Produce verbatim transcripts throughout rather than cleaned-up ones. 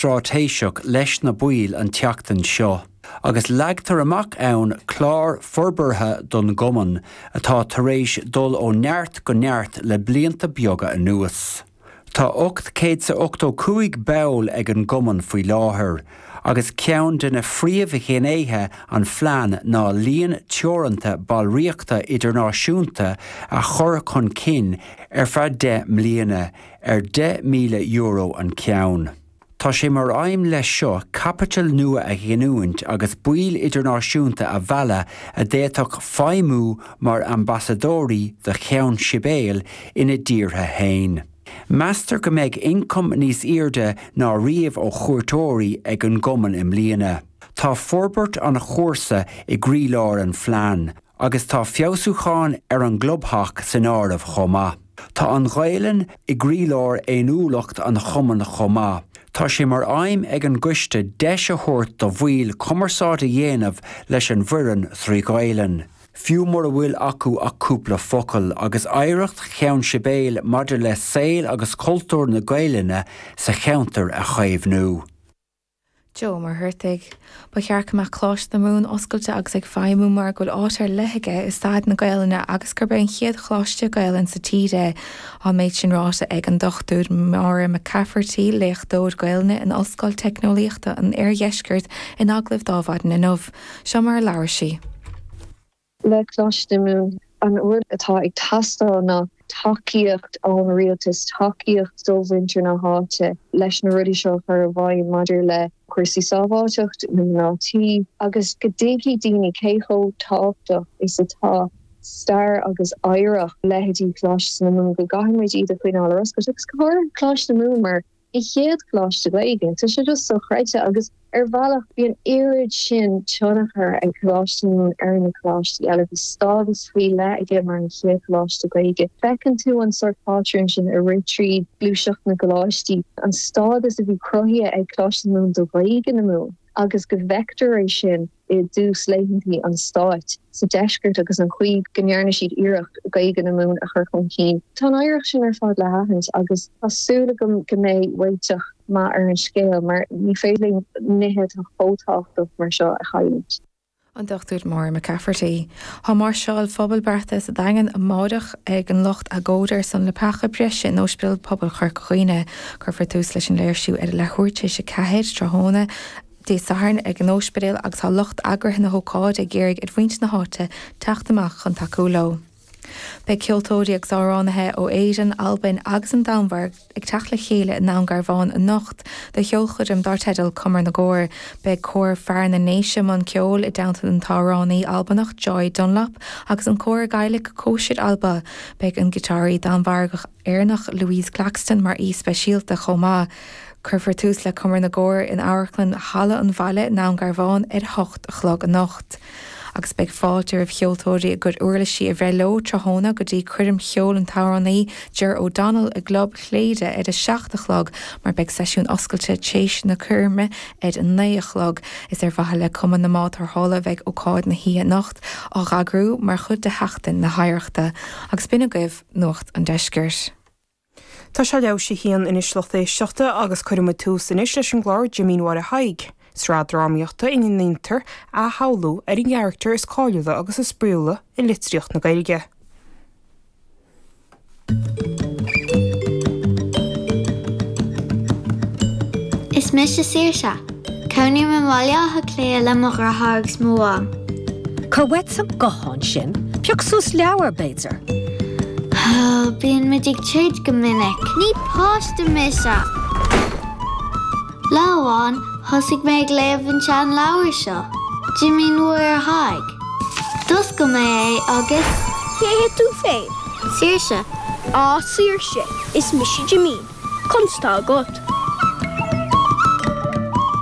Straitéiseach leis na baill an tseachtain seo, agus leagtar amach ann clár forbartha don gcumann atá tar éis dul ó neart go neart le blianta beaga anuas. Tá ocht céad is ochtó cúig ball ag an gcumann faoi láthair, agus ceann de na phríomhghnéithe an phlean ná líon teoranta ballraíochta idirnáisiúnta a chur chun cinn ar feadh deich mbliana ar deich míle euro an ceann. Tá sé mar aidhm leis seo caipiteal nua a ghiniúint agus baill idirnáisiúnta a mhealladh a d'fhéadfadh feidhmiú mar ambasadóirí do Cheann Sibéal ina dtíortha féin. Meastar go mbeidh ioncam níos airde ná riamh ó chuairteoirí ag an gcumann i mbliana. Tá forbairt an chúrsa i gcroílár an phlean, agus tá feabhsúcháin ar an gclubtheach san áireamh chomh maith. Tá an Ghaelainn i gcroílár fhéiniúlacht an chumainn chomh maith. Tá sé mar aidhm ag an gcoiste deis a thabhairt do bhaill cumarsáid a dhéanamh leis an bhfoireann trí Ghaelainn, fiú mura bhfuil acu ach cúpla focal, agus oidhreacht Cheann Sibéal maidir le saol agus cultúr na Gaelainne sa cheantar a chaomhnú. Joe Ó Muircheartaigh. Ba cheart go mbeadh Coláiste na Mumhan oscailte agus ag feidhmiú mar go bhfuil áit ar leith aige i staid na Gaelainne agus gurb é an chéad choláiste Gaelainne sa tír é. Tá an méid sin ráite ag an Dochtúir Máire McCafferty, léachtóir Gaelainne in Ollscoil Teicneolaíochta an Oirdheiscirt in agallamh d'Adhmhaidin inniu. Seo mar a labhair sí. Le Coláiste na Mumhan, an rud atá ag teastáil ná tacaíocht ón rialtas, tacaíocht ó mhuintir na háite leis na rudaí seo a chur i bhfeidhm maidir le cúrsaí sábháilteacht na mná tí agus go dtuigfidh daoine cé chomh tábhachtach is atá stair agus oidhreacht leithéidí Choláiste na Mumhan, go gcaithfidh muid iad a choinneáil ar oscailt agus go háirithe Coláiste na Mumhan mar an chéad choláiste Gaeilge. Tá sé just sochreidte agus ar bhealach bhí an oiread sin tionchar ag Coláiste na Mumhan ar na coláistí eile. Bhí stádas faoi leith aige mar an chéad choláiste Gaeilge. Feiceann tú an sórt pátrún sin ag rith tríd gluaiseacht na gcoláistí, an stádas a bhí cruthaithe ag Coláiste na Mumhan do Ghaeilge na Mumhan agus go bhfeictear é sin i dtús laethanta an stáit sa deisceart agus an chaoi go ndearna siad iarracht Gaeilge na Mumhan a chur chun cinn. Tá an oidhreacht sin ar fad le haithint agus tá súil agam go mbeidh réiteach maith ar an scéal mar ní féidir linn nithe atá chomh tábhachtach mar seo a chailliúint. An Dochtúir Máire McCafferty. Tá máirseáil phobail beartaithe sa Daingean amáireach ag an lucht agóide ar son leapacha breise in Ospidéal Pobail Chorca Dhuibhne. Cuirfear tús leis an léirsiú ar a leathuair tar éis a ceathair tráthnóna Dé Sathairn ag an ospidéal agus tá lucht eagraithe na hócáide ag iarraidh ar mhuintir na háite teacht amach chun tacú leo. Beidh ceoltóirí agus amhránaithe ó Éirinn, Albain agus an Danmhairg ag teacht le chéile i nDún Garbhán anocht do cheolchoirm dar teideal Cumar na gCór. Beidh Cór Fear na nDéise i mbun ceoil i dteannta an t-amhránaí Albanach Joy Dunlop agus an cór Gaidhlic Cóisir Alba. Beidh an giotáraí Danmhargach Éireannach Louise Claxton mar aoi speisialta chomh maith. Cuirfear tús le Cumar na gCór in Amharclann Halla an Bhaile i nDún Garbhán ar a hocht a chlog anocht. Agus beidh fáilte roimh cheoltóirí a gcuid uirlisí a bhreith leo tráthnóna go dtí coirm cheoil an t-amhránaí Ger O'Donnell i gClub Chléire ar a seacht a chlog mar beidh seisiún oscailte téis na coirme ar a naoi a chlog. Is ar mhaithe le Cumann na mBád Tarrthála a bheidh ócáid na hoíche anocht á heagrú mar chuid de Sheachtain na hOidhreachta. Agus b'in agaibh Nuacht an Deiscirt. Tá sé leathuair théis a haon anois lucht éisteachta agus cuirfidh muid tús anois leis an gclár Jimín Mháire Thaidhg, sraith drámaíochta ina ndéantar athshamhlú ar an gcarachtar is cáiliúla agus is spraíúla i litríocht na Gaeilge. Is mise Saoirse. Cónaím i mBaile Átha Cliath le mo dheartháir agus mo mham. Cuir uait an guthán sin, pioc suas leabhar, b'fhéidir. Bíonn muid ag troid go minic. Ní páiste mise! Lá amháin, thosaigh mé ag léamh an seanleabhar seo, Jimín Mháire Thaidhg. D'oscail mé é agus. Cé hé tú féin? Saoirse. Á, Saoirse, is mise Jimín. Conas tá agat?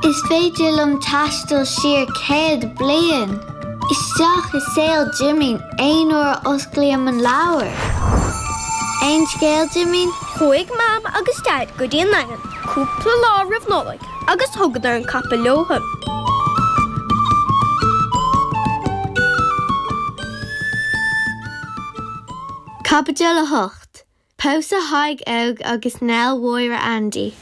Is féidir liom taisteal siar céad bliain! Isteach i saol Jimín aon uair a osclaím an leabhar. Aon scéal, Jimín? Chuaigh Mam agus Daid go dtí an Daingean cúpla lá roimh Nollaig agus thugadar an capall leothu. Caibidil a hocht. Pósadh Thaidhg Óg agus Nell Mháire Aindí.